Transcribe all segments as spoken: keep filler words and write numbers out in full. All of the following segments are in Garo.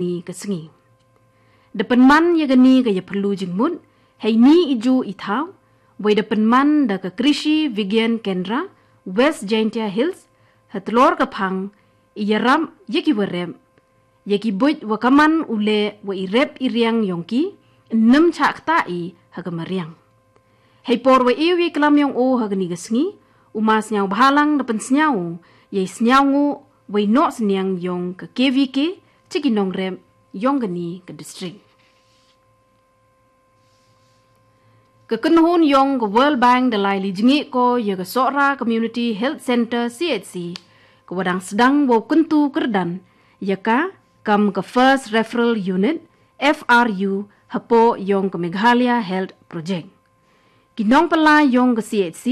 ni ka sngi. Da pynman ïa kani ka ïapyllu jingmut, hei ni i ju i thaw, wei da pynman da ka Krishi Vigyan Kendra, West Jaintia Hills, ha tlor ka phang, i ïarap ïa ki wa rep, ïa ki buit wa ka man u leh wa i rep i riang yong ki, nym chah ktah i ha ka mariang. Hei por wa ew ïa klam yong o ha kani ka sngi, u ma sñiaw bhalang da pynsñiaw, ïa i sñiaw nguh, wei noh sñiang yong ka K V K, chi ki nongrep, yong kani ka district. Ka kynhun yong ka World Bank da lai li jngi ko ïa ka Sohra Community Health Center C H C, ka wa dang sdang wow kyntu kyrdan, ïa ka, kam ka First Referral Unit, F R U, hapoh yong ka Meghalaya Health Project. Ki nongpynlai yong ka C H C,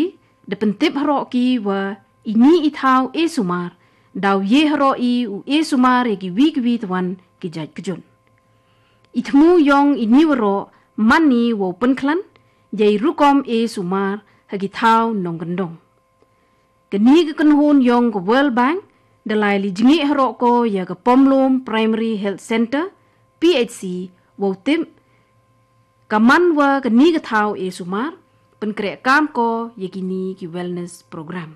da pyntip haroh ki wa i ni i thaw e sumar, daw ye haroh i u e sumar ïa ki wi ki wi twan ki jait kjut. I thmu yong i ni waroh man ni wow pynkhlan, ïa i rukom e sumar ha ki thaw nongkyndong. Kani ka kynhun yong ka World Bank, da lai li jngi haroh ko ïa ka Pomlum Primary Health Center, P H C, wow tip, ka man wa kani ka thaw e sumar, pynkreh kam ko ïa kini ki wellness program.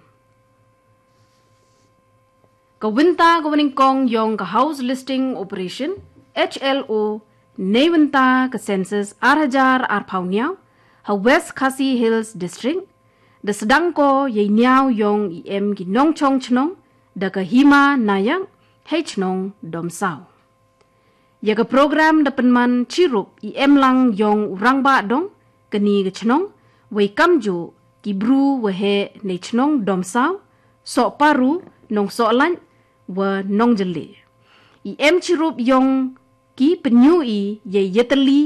Ka wynta ka wa nyngkong yong ka House Listing Operation, H L O, nei wynta ka Census ar hajar arphaw hynñiaw, ha West Khasi Hills District, da sdang ko ïa i ñiaw yong i em ki nongchong chnong, da ka Hima Nayak, hei chnong Domsaw. Ïa ka program da pynman chirup i em lang yong u rangbah dong, kani ka chnong, wei kamjooh, ki bru wa heh nei chnong Domsaw, Sohparu, Nongsohlait, wa Nongjylleh. I em chirup yong ki pynïoh i ïa i ïatylli,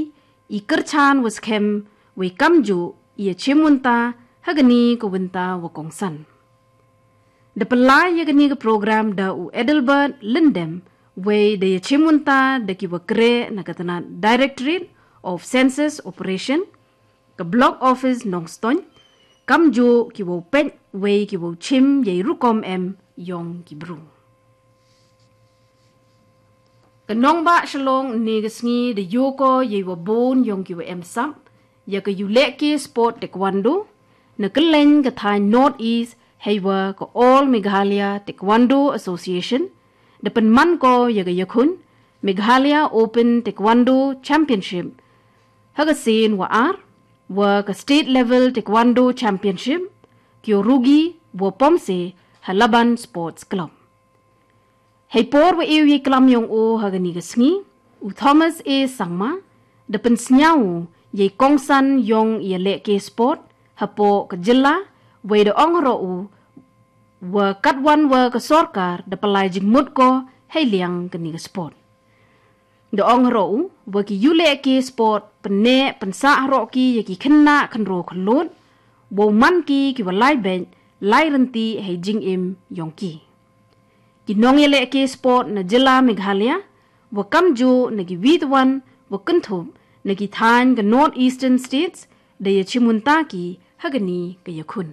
i kyrchan wa skhem, wei kamjooh, i ïachim wynta, ha kani ka wynta wa kongsan. Da pynlai ïa kani ka program da u Adelbert Lyngdoh, wei da ïachim wynta da ki wa kreh na ka tnat Directorate of Census Operation, ka Block Office Nongstoiñ, kamjooh ki wow peit wei ki wow chim ïa i rukom em yong ki bru. Ka nongbah Shillong ni ka sngi da ïoh ko ïa i wa bun yong ki wa em sap, ïa ka ïulehke sport taekwondo, na kylleng ka thaiñ North East, hei wa ka All Meghalaya Taekwondo Association, da pynman ko ïa ka ïakhun, Meghalaya Open Taekwondo Championship, ha ka sien wa ar, wa ka State Level Taekwondo Championship, ki wow rugi, wa pom se, ha Laban Sports Club. Hei por wa ew ïa i klam yong o ha kani ka sngi, u Thomas A Sangma, da pynsñiaw u, ïa i kongsan yong i ïalehke sport, hapoh ka jylla, wei da ong haroh u, wa katwan wa ka sorkar, da pynlai jingmut ko, hei liang kani ka sport. Da ong haroh u, wa ki ïulehke sport, pynneh, pynsah haroh ki, ïa ki khynnah, khynraw khyllood, wow man ki, ki wa lai beit, lai ryntih, hei jingim, yong ki. Ki nongïalehke sport na jylla Meghalaya, wa kamjooh na ki wi twan, wa kynthup, na ki thaiñ ka North Eastern States, da ïachim wynta ki, ha kani ka ïakhun.